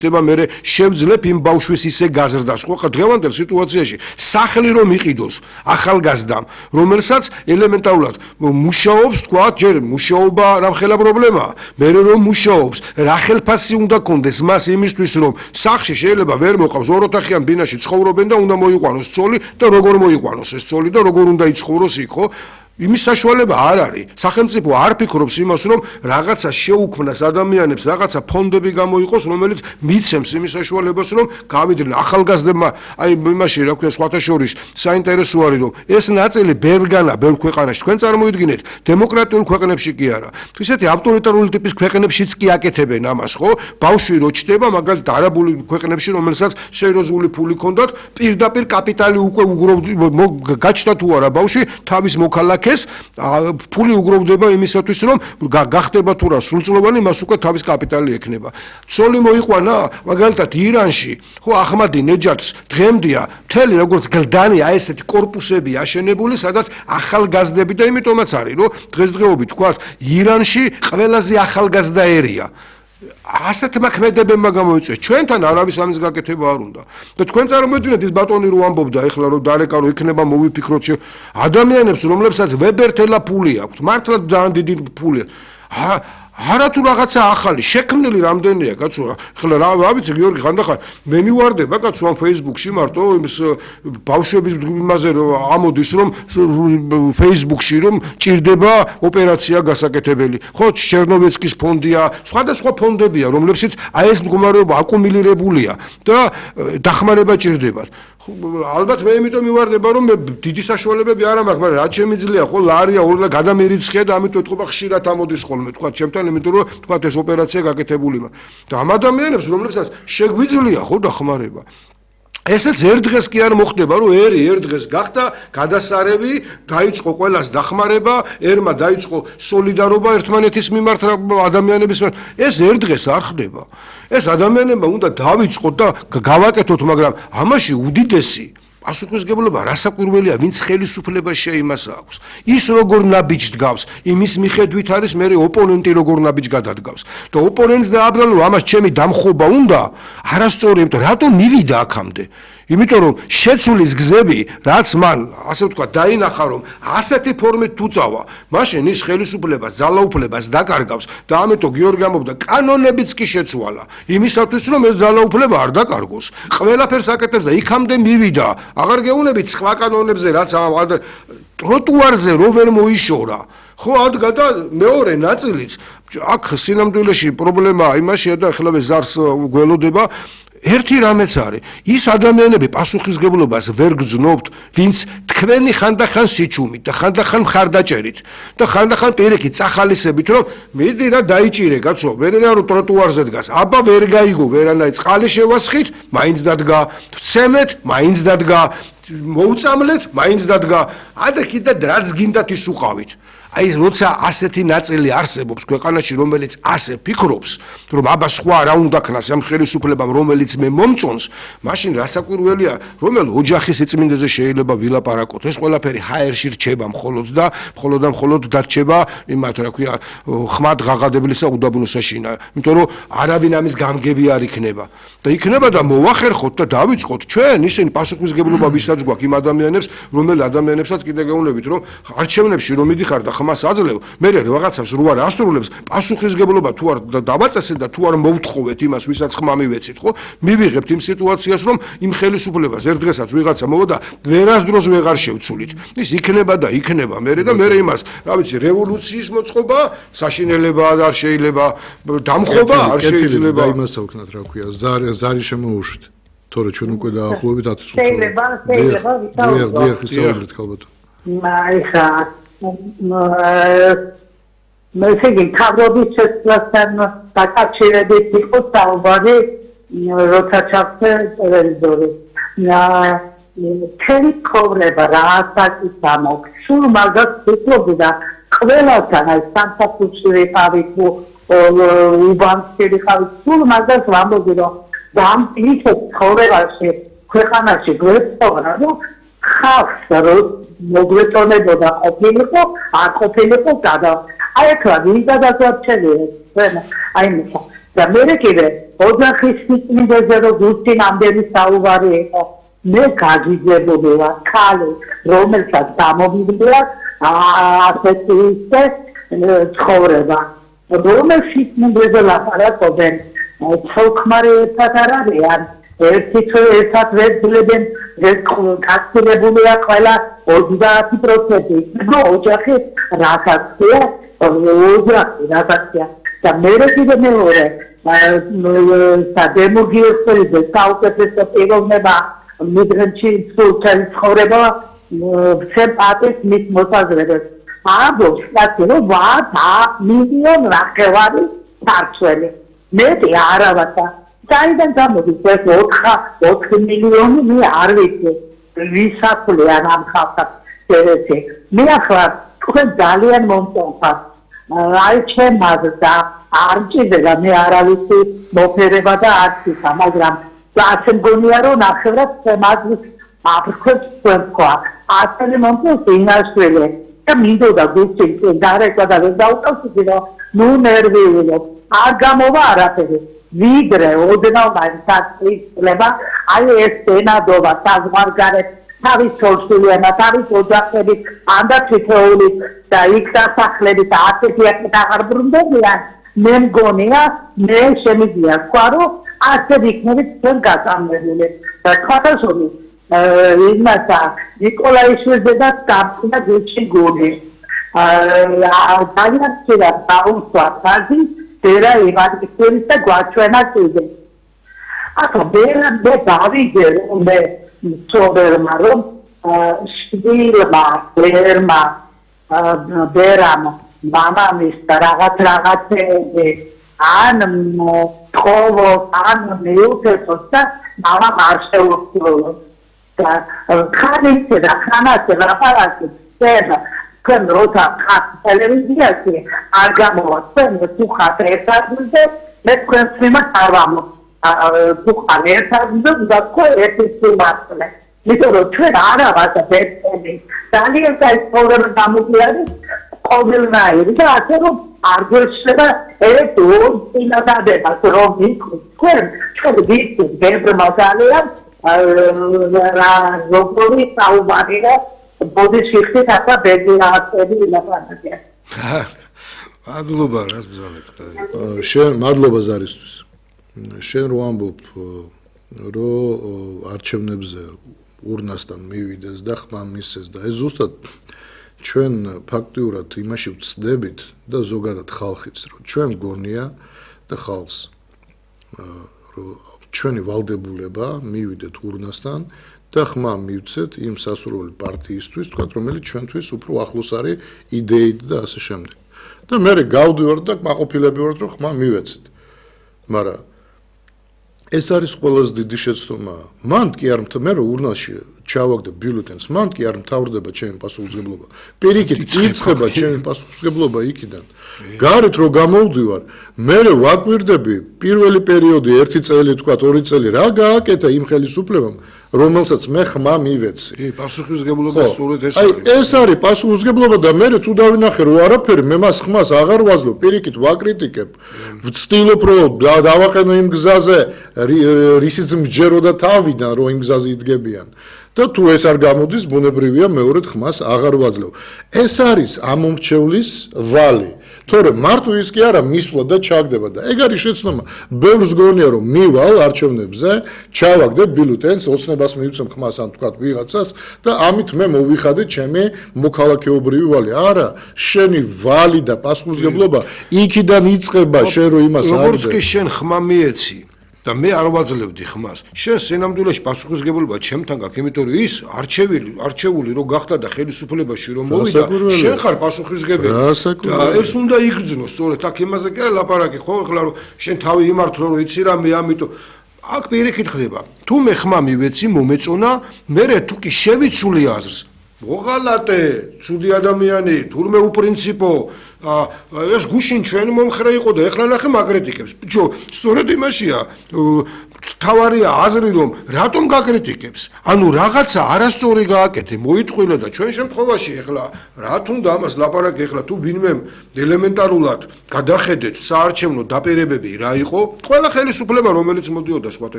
მე შევძლებ იმ ბავშვის ისე გაზრდას, ხო, დღევანდელ სიტუაციაში სახლი რომ იყიდოს ახალგაზრდამ, რომელსაც ელემენტარულად მუშაობს, თქვა, ჯერ მუშაობა რამხელა პრობლემაა, მე რომ მუშაობს, რა ხელფასი უნდა კონდეს მას იმისთვის, რომ სახლში შეიძლება ვერ მოყავს ოროთახიან ბინაში ცხოვრობენ და უნდა მოიყვანოს ცოლი და როგორ მოიყვანოს ეს ცოლი და როგორ უნდა იცხოვროს იქ, ხო? იმის საშუალება არ არის. სახელმწიფო არ ფიქრობს იმას, რომ რაღაცა შეუქმნას ადამიანებს, რაღაცა ფონდები გამოიყოს, რომელიც მიცემს იმის საშუალებას, რომ გავიდნენ ახალგაზრდებმა, აი იმაში, რა ქვია, სხვათა შორის საინტერესო არის, რომ ეს ნაწილი ბევრგანა, ბევრ ქვეყანაში, თქვენ წარმოიდგინეთ, დემოკრატიულ ქვეყნებში კი არა. ისეთი ავტორიტარული ტიპის ქვეყნებშიც კი აკეთებენ ამას, ხო? ბავშვი რო ჩდება, მაგალითად არაბული ქვეყნებში, რომელსაც სერიოზული ფული ჰქონდათ, პირდაპირ კაპიტალი უკვე გაჩნდა თუ არა ბავშვი, თავის მოქალაქე ფული უგროვდება იმისათვის, რომ გახდება თუ რა სრულწლოვანი, მას უკვე თავის კაპიტალი ექნება. ცოლი მოიყვანა, მაგალითად ირანში, ხო, აჰმადი ნეჯათს დღემდეა მთელი როგორც გლდანი ესეთი კორპუსები აშენებული, სადაც ახალგაზრდები და იმიტომაც არის, რომ დღესდღეობით თქვა, ირანში ყველაზე ახალგაზრდა ერია. ასეთმა ქმედებებმა გამოიწვიეს. ჩვენთან არავის ამის გაკეთება არ უნდა. და თქვენ წარმოიდგინეთ ის ბატონი რო ამბობდა, ეხლა რომ დარეკა რო იქნება მოვიფიქროთ ადამიანებს, რომლებსაც ვებერთელა ფული აქვს, მართლა ძალიან დიდი ფულია. არა თუ რაღაცა ახალი შექმნილი რამდენია, კაცო, ხლა რა ვიცი, გიორგი, ხანდახან მე მივარდება, კაცო, ამ Facebook-ში მარტო იმის ბავშვების იმაზე ამოდის, რომ Facebook-ში რომ ჭირდება ოპერაცია გასაკეთებელი. ხო, ჩერნოვეცკის ფონდია, სხვადასხვა ფონდებია, რომლებშიც აი ეს მდგომარეობა აკუმულირებულია და დახმარება ჭირდებათ. ალბათ მე იმიტომ მივარდება, რომ მე დიდი საშუალებები არ მაქვს, მაგრამ რაც შემიძლია, ხო, ლარია ორ და გადამერიცხია და ამიტომ ეთქობა ხშირად ამოდის ხოლმე, თქვა, ჩემთან, იმიტომ რომ თქვა ეს ოპერაცია გაკეთებული მაქვს. და ამ ადამიანებს, რომლებსაც შეგვიძლია, ხო, დახმარება. ესეც ერთ დღეს კი არ მოხდება, რომ ერთ დღეს გახდა გადასარევი, დაიწყო ყველას დახმარება, ერმა დაიწყო სოლიდარობა ერთმანეთის მიმართ ადამიანების მიმართ. ეს ერთ დღეს არ ხდება. ეს ადამიანებმა უნდა დავიწყოთ და გავაკეთოთ, მაგრამ ამაში უდიდესი პასუხისმგებლობა რასაკვირველია, ვინც ხელისუფლებას შეიმას აქვს. ის როგორ ნაბიჯს დგავს, იმის მიხედვით არის მე ოპონენტი როგორ ნაბიჯს გადადგავს. და ოპონენტს დააბრალო, ამას ჩემი დამხობა უნდა, არასწორი, იმიტომ რატომ მივიდა აქამდე? იმიტომ რომ შეცვლის გზები, რაც მან, ასე ვთქვა, დაინახა, რომ ასეთი ფორმით თუ წავა, მაშინ ის ხელისუფლებას, ძალაუფლებას დაკარგავს და ამიტომ გიორგი ამბობდა, კანონებიც კი შეცვალა. იმისათვის, რომ ეს ძალაუფლება არ დაკარგოს. ყველაფერს აკეთებს და იქამდე მივიდა. აღარ გეუბნებით სხვა კანონებზე, რაც ტროტუარზე რო ვერ მოიშორა. ხო, ადგა და მეორე ნაწილიც, აქ სინამდვილეში პრობლემაა იმაშია და ეხლა ზარს გველოდება. ერთი რამეც არის, ის ადამიანები პასუხისმგებლობას ვერ გძნობთ, ვინც თქვენი ხანდახან სიჩუმით და ხანდახან მხარდაჭერით და ხანდახან პირიქით წახალისებით, რომ მიდი რა დაიჭირე, კაცო, ვერა რომ ტროტუარზე დგას, აბა ვერ გაიგო, ვერანაირ წყალი შევასხით, მაინც დადგა, ვცემეთ, მაინც დადგა, მოუწამლეთ, მაინც დადგა, და კიდე რაც გინდათ ის უყავით. აი როცა ასეთი ნაწილი არსებობს ქვეყანაში, რომელიც ასე ფიქრობს, რომ აბა სხვა რა უნდა ქნას ამ ხელისუფლებამ, რომელიც მე მომწონს, მაშინ რასაკვირველია, რომელ ოჯახის სიწმინდეზე შეიძლება ვილაპარაკოთ. ეს ყველაფერი ჰაერში რჩება მხოლოდ და მხოლოდ დარჩება იმათ, რა ქვია, ხმად ღაღადებლისა უდაბნოსაშინა. იმიტომ რომ არავინ ამის გამგები არ იქნება. და იქნება და მოვახერხოთ და დავიწყოთ ჩვენ ისინი პასუხისმგებლობა ვისაც გვაქვს იმ ადამიანებს, რომელ ადამიანებსაც კიდე გეუბნებით, რომ არჩევნებში რომ მიდიხარ და ხმას აძლევ, მე რაღაცას რო არ ასრულებს, პასუხისმგებლობა თუ არ დავაწესეთ და თუ არ მოვთხოვეთ იმას, ვისაც ხმა მივეცით, ხო? მივიღებთ იმ სიტუაციას, რომ იმ ხელისუფლებას ერთ დღესაც ვიღაცა მოვა და ვერასდროს ვეღარ შევცვლით. ის იქნება და იქნება მე და მე იმას, რა ვიცი, რევოლუციის მოწყობა, საშინელება არ შეიძლება, დამხობა არ შეიძლება. და იმას ავქნათ, რა ქვია, ზარი შემოუშვით. თორე ჩვენ უკვე დაახლოებით 10 წუთი. შეიძლება, ისაუბრეთ ალბათ. ეხა მესიგი თავრობის შესწავლასთან დაკავშირებით იყო საუბარი, როცა ჩავხდა ტელევიზორი. მთელი ცხოვრება რასაც ამოქ, სულ მაგას ვფიქრობდი და ყველასთან აი სამსახურში ვიყავი, უბანში ვიყავი, სულ მაგას ვამბობდი, რომ ამ ისეთ ცხოვრებაში, ქვეყანაში გვეცხოვრა, რომ ხალხს რომ მოგვეწონებოდა ყოფილიყო, არ ყოფილიყო გადა. აი ახლა ვინ გადაგვარჩენია, აი და მე კიდე ოჯახის სიწმინდეზე რომ გუსტი ნამდვილი საუბარი იყო მე გაგიძებული ვარ ქალი რომელსაც გამომიგდია ასეთი ცხოვრება რომელიც სიწმინდეზე ლაპარაკობენ ცოლ-ქმარი ერთად არ არიან ერთად ვეძლებენ გასწრებულია ყველა 30% ნუ ოჯახი რაღაცია ოჯახი რაღაცია და მე კიდე მეორე დემოგრაფიული საუკეთესო პიროვნება მიგრანტი სოციალური ცხოვრება სემპათიის მის მოსაზრებას ამბობს რომ ვარ მილიონ ნახევარი ქართველი მეტი არა ვარ საიდან გამოდის ეს 4 მილიონი მე არ ვიცი ვისაკლიან ამ ხალხს ესე მე ახლა თქვენ ძალიან მომწონს აი ჩემს და არ ჭირდება მე არავისი მოფერება და არც ისა მაგრამ ასე მგონია რომ ნახევრად მაგის აფრქვებს თქვა ასეთი მომწონს ინაშველი და მინდოდა გუსტი დარეკვა და დაუწევდი რომ ნუ ნერვიულო არ გამოვა არაფერი ვიდრე ოდნავ მაინცაცლება აი ეს ენადობა საზღვარგარეთ თავის სოციალურმა თავის ოჯახები ანდა თითოეული და იქ დასახლებით ასეთი აღარ ბრუნდებიან მე მგონია მე შემიძლია თქვა რომ ასე იქნებით ჩვენ გაწამებული და თქვათაშორი იმასა ნიკოლაიშვილზე და გამწუნა გუჩი გონი ძალიან ცირა დაუსვა ფაზი დერა ივანკიძის და გვაჩვენა კიდე ახლა მე დავიგე მე ცობრმა რომ შვილმა ერმა ბერამ მამამის და რაღაცეები ან თხოვო ან მეუქესოს და მამამ არ შეუძლო და ხანით და ხანას ლაპარაკი თქვენ როცა ხართ ტელევიზიაში არ გამოვა თქვენ თუ ხართ ერთადზე მე თქვენს მიმართ არ ვამო თუ ხარ ერთადზე და თქვენ ერთადზე იმიტომ რომ ჩვენ არა ვართ ერთები ძალიან საერთოდ გამოგიარი ყოველნაირი და ასე რომ არ გვეშლება ერთ ორ წინადადებას რომ თქვენ ვიცით ბევრმა ძალიან როგორი საუბარია ბოდიშიხით ახლა ბედნიააცები ლაპარაკია მადლობა რას ბრძანებთ შენ მადლობა ზარისთვის შენ რო ამბობ რომ არჩევნებზე ურნასთან მივიდეს და ხმა მისცეს და ეს ზუსტად ჩვენ ფაქტიურად იმაში ვწდებით და ზოგადად ხალხიც რომ ჩვენ გონია და ხალხს რომ ჩვენი ვალდებულება მივიდეთ ურნასთან და ხმა მივცეთ იმ სასურველი პარტიისთვის თქვა რომელიც ჩვენთვის უფრო ახლოს არის იდეით და ასე შემდეგ და მე გავდივართ და მაყოფილები ვართ რომ ხმა მივეცეთ მაგრამ ეს არის ყველაზე დიდი შეცდომა მან კი არ მე რომ ურნაში ჩავაგდე ბიულეტენს მან კი არ მთავრდება ჩემი პასუხისმგებლობა პირიქით იწყება ჩემი პასუხისმგებლობა იქიდან გარეთ რო გამოვდივარ მე ვაკვირდები პირველი პერიოდი 1 წელი თქვა 2 წელი რა გააკეთა იმ ხელისუფლებამ რომელსაც მე ხმა მივეცი კი პასუხისმგებლობა სულად ეს არის ეს არის პასუხისმგებლობა და მე თუ დავინახე რომ არაფერი მე მას ხმას აღარ ვაძლევ პირიქით ვაკრიტიკებ ვცდილობ რომ დავაყენო იმ გზაზე რისიც მჯეროდა თავიდან რომ იმ გზაზე იდგებიან და თუ ეს არ გამოდის ბუნებრივია მეორედ ხმას აღარ ვაძლევ ეს არის ამომრჩევლის ვალი თორე მარტო ის კი არა მისვლა და ჩაგდება და ეგ არის შეცდომა ბევრს გონია რომ მივალ არჩევნებზე ჩავაგდე ბიულეტენს ოცნებას მივცემ ხმას ან თქვა ვიღაცას და ამით მე მოვიხადე ჩემი მოქალაქეობრივი ვალი არა შენი ვალი და პასუხისმგებლობა იქიდან იწყება შენ რო იმას არ როგორც კი შენ ხმა მიეცი და მე არ ვაძლევდი ხმას შენ სინამდვილეში პასუხისმგებლობა ჩემთან გაქვს იმიტომ რომ ის არჩეული რო გახდა და ხელისუფლებაში რომ მოვიდა შენ ხარ პასუხისმგებელი და ეს უნდა იგრძნო სწორედ აქ იმაზე კი არა ლაპარაკი ხო ახლა რომ შენ თავი იმართო რომ იცი რა მე ამიტომ აქ პირიქით ხდება თუ მე ხმა მივეცი მომეწონა მე თუ კი შევიცული აზრს მოღალატე ცუდი ადამიანი თურმე უპრინციპო ეს გუშინ ჩვენი მომხრე იყო და ეხლა ნახე მაგრიტიკებს ბიჭო სწორედ იმაშია თავარია აზრი რომ რატომ გაკრიტიკებს? ანუ რაღაცა არასწორი გააკეთე, მოიწყვილა და ჩვენ შემთხვევაში ეხლა რა თუნდა ამას ლაპარაკი ეხლა თუ ვინმე ელემენტარულად გადახედეთ საარჩევნო დაპირებები რა იყო? ყველა ხელისუფლება რომელიც მოდიოდა სხვათა